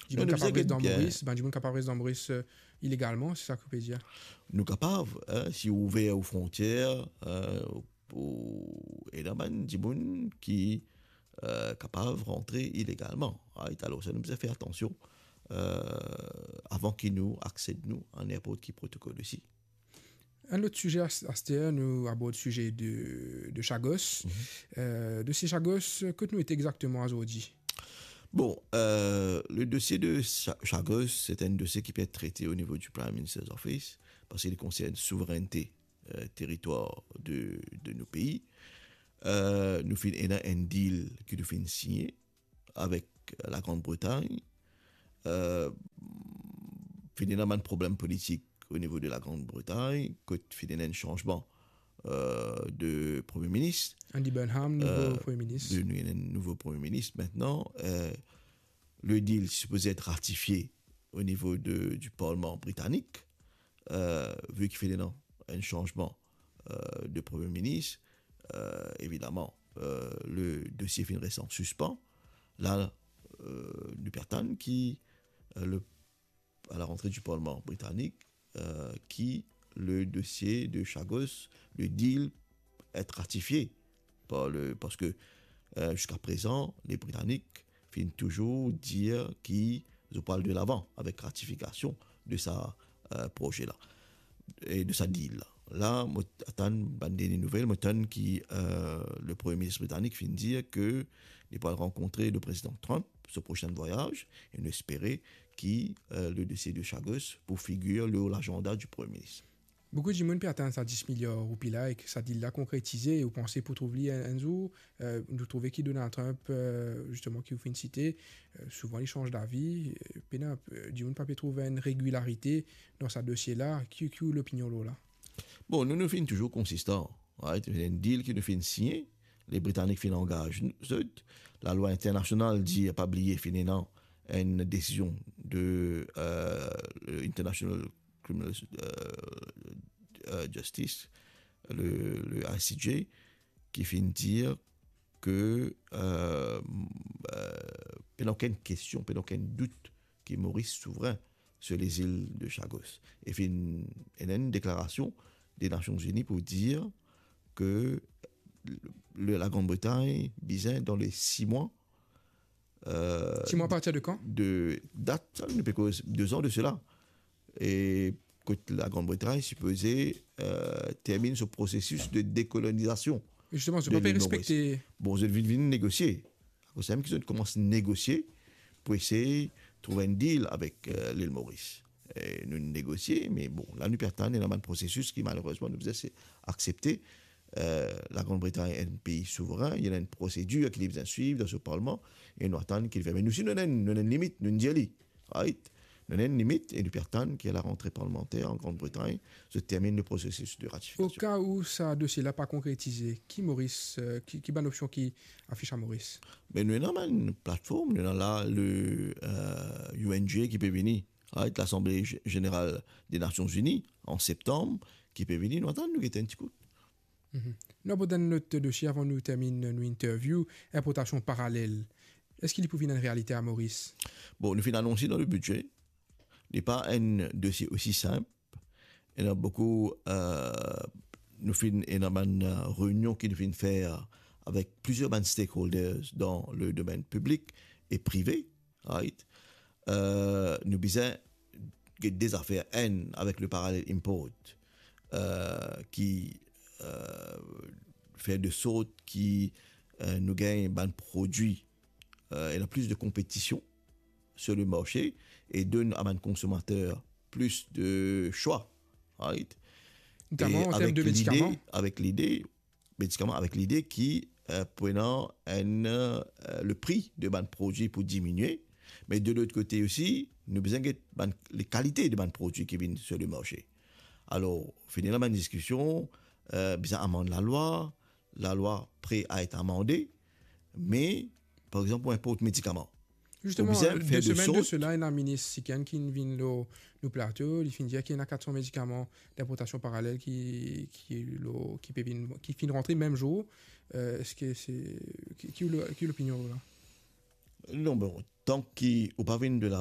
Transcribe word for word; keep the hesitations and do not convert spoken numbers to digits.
Dimoun kapav res dan Moris, bann dimoun kapav res dan Moris, euh, ilegalman, se sa ki ou pe dir? Nou kapav, hein, si ou ouver ou frontier, euh, pou ena bann dimoun ki, euh, kapav rantre ilegalman. Right? Alor, sa nou bizin fer atansion, euh, avan ki nou aksed nou a ninport ki protokol osi. Enn lot size, as-, aster, nou abord size de, de Chagos. Mhm. Euh, dosie Chagos, kot nou ete exakteman azordi? Bon, euh, le dosie de Cha-, Chagos, se enn dosie ki pe et trete o nivo di Prime Minister's Office, parski li konsern souverennte, euh, teritwar de, de nou pei. Euh, nou finn ena enn deal ki nou finn signe avek, euh, la Grande-Bretagne. Euh, finn ena bann problem politik o nivo de la Grande-Bretagne, kot finn ena enn sanzman, euh, de Premie Minis. Andy Burnham, nouvo Premie Minis. Euh, de, nou ena enn nouvo Premie Minis aster. Euh, le deal sipoze et ratifie o nivo de, di Parlman Britanik. Euh, vi ki finn ena enn sanzman, euh, de Premie Minis, euh, evidaman, euh, le dosie finn res an sispan. La, euh, nou pe atann ki, euh, le, a la rantre di Parlman Britanik, euh, ki le dosie de Chagos, le deal, et ratifie par le, parski, euh, ziska prezan, le Britanik finn touzour dir ki zot pou al delavan avek ratifikasion de sa, euh, proze la e de sa deal la. La, mo atann bann dernie nouvel, mo tann ki, euh, le Premie Minis Britanik finn dir ke li pou al rankontre le Prezidan Trump, so prosin vwayaz, e nou espere ki, euh, le dosie de Chagos pou figir lor lazanda di Premie Minis. Boukou dimoun pe atann sa dis miliar roupi la ek sa deal la konkretize, e ou panse pou trouv li enn, enn zour? Euh, nou trouve ki Donald Trump, euh, zisteman, ki ou finn site, euh, souvan li sanz davi, euh, pena, euh, dimoun pa pe trouv enn regilarite dan sa dosie la. Ki, ki ou lopinion lor la? Bon, nou, nou finn touzour konsistan, right? Enn deal ki nou finn signe, le Britanik finn angaz zot. Lalwa internasional dir, pa bliye, finn ena enn desizion de, euh, International Criminal, euh, euh, Justice, le, le I C J, ki finn dir ke, euh, euh, pena okenn kestion, pena okenn dout ki Moris souvren sir lezil de Chagos. E finn ena enn deklarasion de Nasion Zini pou dir ke le, la Grande-Bretagne bizin, dan le sis mwa, euh, Sis mwa apartir de kan? De dat, sa, nou pe koz de zan de sela. E kot la Grande-Bretagne sipoze, euh, terminn so prosesis de dekolonizasion. Zisteman, zot pa pe respekte. Bon, zot vinn, vinn negosie. Akoz samem ki zot koumans negosie pou esey trouv enn deal avek, euh, lil Moris. E nou negosie, me bon, la nou pe atann, ena bann prosesis ki malerezman nou bizin aksepte. Euh, la Grande-Bretagne enn pei souvren, li ena enn prosedir ki li bizin swiv dan so parlman, e nou atann ki li fer. Me nou osi, nou ena, nou ena enn limit, nou dir li. Right? Nou ena enn limit e nou pe atann ki la rantre parlmanter an Grande-Bretagne, zot terminn le prosesis de ratifikasion. Oka ou sa dosie la pa konkretize, ki Moris, euh, ki, ki bann opsion ki afis a Moris? Me nou ena bann platform, nou ena la le, euh, U N G ki pe vini, right, Lasanble Ze-, Zeneral de Nasion Zini, an septanm, ki pe vini, nou atann, nou gete enn ti kou. Mhm. Nou abord enn lot dosie avan nou terminn nou interview, inportasion paralel. Eski li pou vinn enn realite a Moris? Bon, nou finn anonse dan le bidze. Li pa enn dosie osi sinp. Ena boukou, euh, nou finn ena bann, euh, reynion ki nou finn fer avek plizier bann stakeholders dan le domenn piblik e prive, right? Euh, nou bizin get de zafer, enn, avek le parallel import, euh, ki, euh, fer de sort ki, euh, nou gagn bann prodwi, euh, ena plis de konpetision sir le marse e donn a bann konsomater plis de swa, right? Notaman an term de medikaman. Avek lide, medikaman, avek lide ki, euh, pou ena enn, euh, le pri de bann prodwi pou diminie, me de lot kote osi, nou bizin get bann, le kalite de bann prodwi ki vinn sir le marse. Alor, finn ena bann diskision, euh, bizin amann lalwa, lalwa pre a et amande, me, par exanp, pou inport medikaman, Zisteman, de semenn de sela, ena minis Sikhenn ki vinn lor nou plato, li finn dir ki ena kat san medikaman dinportasion paralel ki, ki lor, ki pe vinn, ki finn rantre mem zour. Euh, eski se, ki, ki, ki lopinion ou la? Non, bon, tan ki ou pa vinn de la